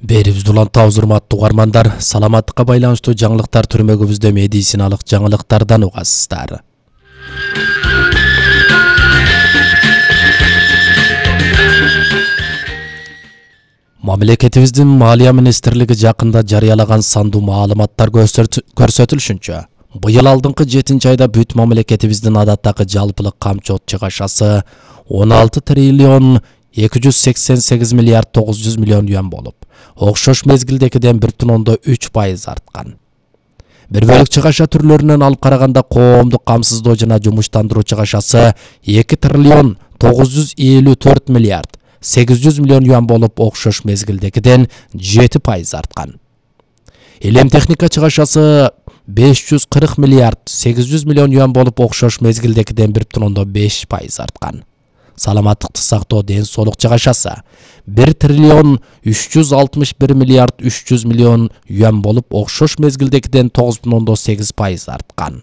Берибизди улантабыз, урматтуу угармандар. Саламаттыкка байланыштуу жаңылыктар түрмөгүбүздө медициналык жаңылыктардан угасыздар. Мамлекетибиздин Малия министрлиги жакында жарыялаган сандуу маалыматтар көрсөтүлүшүнчө, быйыл алдыңкы 7-айда бүт мамлекетибиздин адаттагы жалпылык камчы чыгашасы 16 триллион 288 миллиард 900 миллион юан болуп, окшош мезгилдекиден 1,3% арткан. Бир бөлүк чыгаша түрлөрүнөн алып караганда коомдук камсыздоо жана жумуштандыруу чыгашасы 2 триллион 954 миллиард 800 миллион юан болуп, окшош мезгилдекиден 7% арткан. Илем техника чыгашасы 540 миллиард 800 миллион юан болуп, окшош мезгилдекиден 1,5% арткан. Саламаттыкты сактоо ден соолук чыгашасы 1 триллион 361 миллиард 300 миллион юан болуп, окшош мезгилдекиден 9,8% арткан.